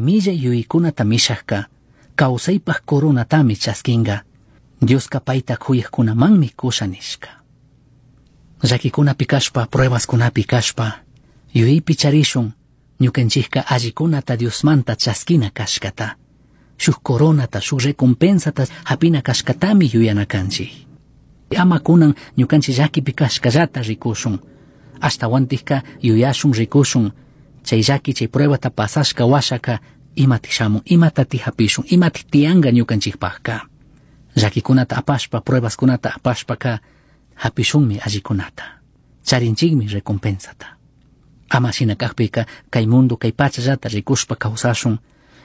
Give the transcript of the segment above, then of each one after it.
Chay millay yuyaykunata mishajka kawsaypaj coronatami chaskinga. Dioska payta kuyajkunamanmi kusha nishka. Llaquikunapi kashpa, pruebaskunapi kashpa, yuyaypi charishun ñukanchikka allikunata Diosmanta chaskina kashkata. Shuk coronata, shuk recompensata hapina kashkatami yuyana kanchik. Ama kunan ñukanchik llakipi kashkallata rikushun. Ashtawantikka yuyashun rikushun. Chay llaki chay pruebata pasashka washaka imatik shamun, imatatik hapishun, imatik tiyanka ñukanchikpakka. Llakikunata apashpa, pruebaskunata apashpaka hapishunmi allikunata. Charinchikmi recompensata. Ama shina kakpika kay mundo kay pachallata rikushpa kawsashun.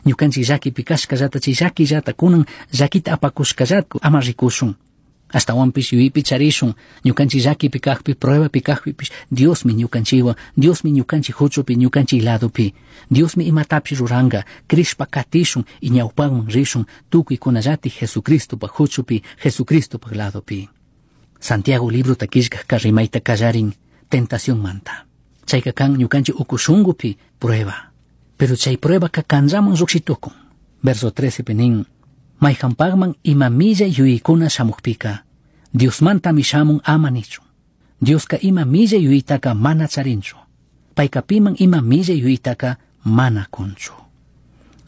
Ñukanchik llakipi kashkallata chay llakillata kunan llakita apakushkallata ama rikushun. Ashtawanpish yuyaypi charishun ñukanchik llakipi kakpi pruebapi kakpipish Diosmi ñukanchikwan, Diosmi ñukanchik huchupi, ñukanchik ladopi. Diosmi imatapish ruranka, crishpa katishun y ñawpakman rishun tukuykunallatik Jesucristopak huchupi, Jesucristopak ladopi. Santiago librota killkajka rimayta kallarin tentacionmanta. Chayka kan ñukanchik uku shunkupi prueba. Pero chay pruebaka kanllaman llukshitukun. Verso 13 pi nin, mayhanpakman ima millay yuyaykuna shamukpika, Diosmantami shamun ama nichun. Dioska ima millay yuyaytaka mana charinchu. Payka piman ima millay yuyaytaka mana kunchu.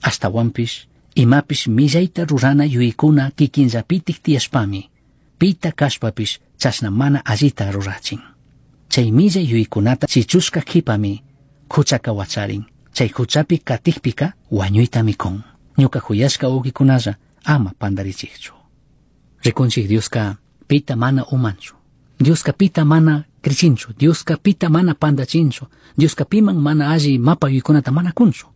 Ashtawanpish, imapish millayta rurana yuyaykuna kikinllapitik tiyashpami, pita kashpapish chashna mana allita rurachin. Chay millay yuyaykunata chichushka kipami huchaka wacharin. Chay huchapi katikpika wañuytami kun. Ñuka huyashka wawqikunalla ama pantarichikchu. Rikunchik Dioska pita mana umanchu. Dioska pita mana krichinchu. Dioska pita mana pantachinchu. Dioska piman mana alli mapa yuyaykunata mana kunchu.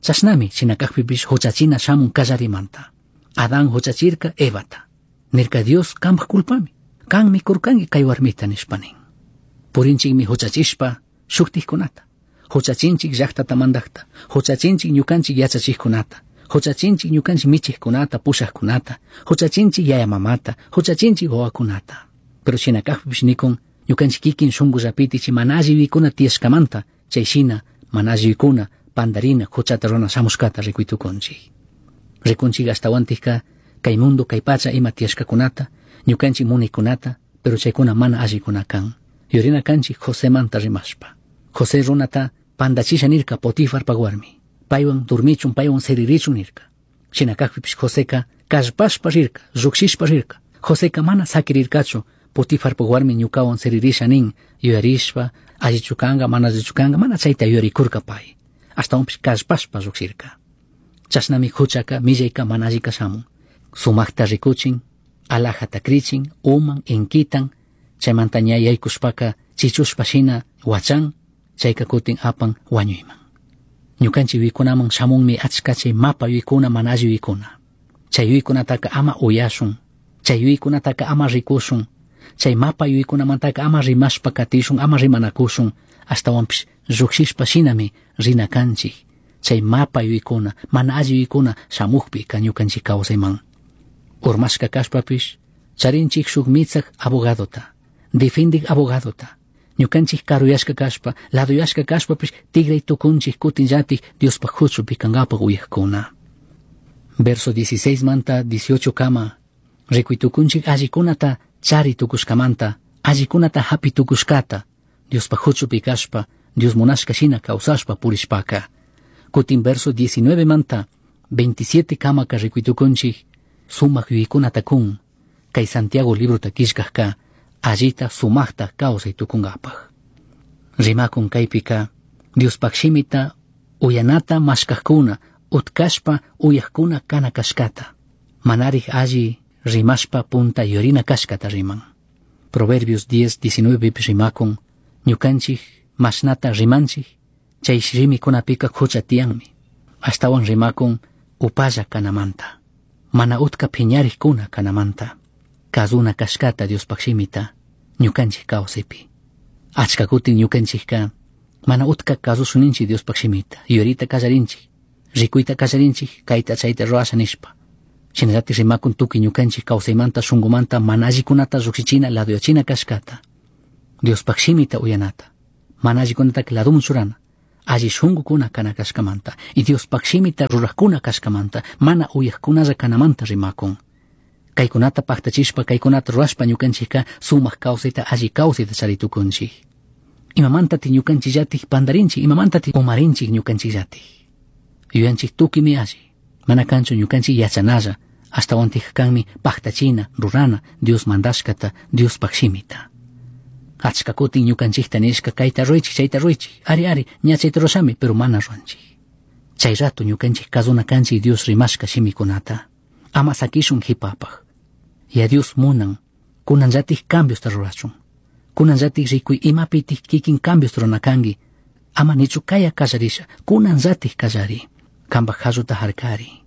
Chashnami shina kakpipish huchachina shamun kallarimanta. Adán huchachirka Evata. Nirka Dios kampak culpami. Kanmi kurkanki kay warmita nishpa nin. Purinchikmi huchachishpa shuktikkunata. Huchachinchik llaqtata mandaqta. Huchachinchik ñukanchik yachachikkunata. Huchachinchik ñukanchik michikkunata, pushaqkunata. Huchachinchik yaya mamata, huchachinchik wawakunata. Pero shina kakpipish nikun ñukanchik kikin shunkullapiti chay mana alli yuyaykuna tiyashkamanta, chay shina mana alli yuyaykuna pandarina huchata runa shamushkata rikuytukunchik. Rikunchik ashtawantikka kay mundo kay pacha ima tiyashkakunata, ñukanchik munaykunata, pero chaykuna mana allikuna kan. Yurina kanchik Josemanta rimashpa. José runata pantachisha nirka Potifarpak warmi. Paywan durmichun, paywan siririchun nirka. Shina kakpipish Joseka kallpashpa rirka, llukshishpa rirka. Joseka mana sakirirkachu Potifarpak warmi ñukawan siririsha nin, yuyarishpa, allichu kanka, mana allichu kanka, mana chayta yuyarikurka pay. Ashtawanpish kallpashpa llukshirka. Chashnami huchaka, millayka mana allika shamun. Sumakta rikuchin, alajata krichin, uman, inkitan, chaymanta ña yaykushpaka chichushpa shina wachan, chayka kutin apan wañuyman. Ñukanchik yuyaykunaman shamunmi achka chay mapa yuyaykuna mana alli yuyaykuna. Chay yuyaykunataka ama uyashun, chay yuyaykunataka ama rikushun, chay mapa yuyaykunamantaka ama rimashpa katishun, ama rimanakushun, ashtawanpish llukshishpa shinami rina kanchik. Chay mapa yuyaykuna, mana alli yuyaykuna shamukpika ñukanchik kawsayman. Urmashka kashpapish, charinchik shuk mitsak abogadota, defendik abogadota. Ñukanchik karuyashka kashpa, laduyashka kashpapish tigray tukunchik kutinllatik Diospaj huchupi kankapak uyajkuna. Verso 16 manta 18 kama, rikuytukunchik allikunata chari tukushkamanta, allikunata hapi tukushkata, Diospaj huchupi kashpa, Dios munashka shina kawsashpa purishpaka. Kutin verso 19 manta 27 kamaka rikuytukunchik sumak yuyaykunata kun, kay Santiago librota killkajka allita sumakta kawsay tukunkapaj. Rimakun kaypika Diospaj shimita uyanata mashkajkuna, utkashpa uyajkuna kana kashkata. Manarik alli rimashpa punta yurina kashkata riman. Proverbios 10, 19 rimakun, ñukanchik mashnata rimanchik, chay shimikunapika hucha tiyanmi. Ashtawan rimakun upalla kanamanta. Mana utka phiñarikkuna kanamanta. Kazuna kashkata Diospaj shimita ñukanchik kawsaypi. Achka kutin ñukanchikka mana utka kasushunninchik Diospaj shimita, yurita kallarinchik, rikuyta kallarinchik, kayta chayta rurasha nishpa. Shinallatik rimakun tukuy ñukanchik kawsaymanta shunkumanta mana allikunata llukshichina laduyachina kashkata. Diospaj shimita uyanata, mana allikunataka laduman churana. Alli shungukuna kana kashkamanta y Diospaj shimita rurajkuna kashkamanta mana uyajkunalla kanamanta rimakun. Kaykunata paktachishpa kaykunata rurashpa ñukanchikka sumak kawsayta alli kawsayta chari tukunchik. Imamantati ñukanchikllatik pandarinchik, imamantati umarinchik ñukanchikllatik. Yuyanchik tukimi alli, mana kanchu ñukanchik yachanalla, ashtawantik kanmi paktachina, rurana, Dios mandashkata, Diospaj shimita. Achka kutin ñukanchikta nishka kayta ruraychik, chayta ruraychik, ari ari, ña chayta rurashami, pero mana ruranchik. Chay rato ñukanchik kazuna kanchik Dios rimashka shimikunata. Ama sakishun hipapaj. Ya Dios munan, kunanllatik cambiosta rurachun. Kunanllatik rikuy imapitik kikin cambios rurana kanki. Ama nichu kaya kallarisha, kunanllatik kallari. Kanpak jalluta harkari.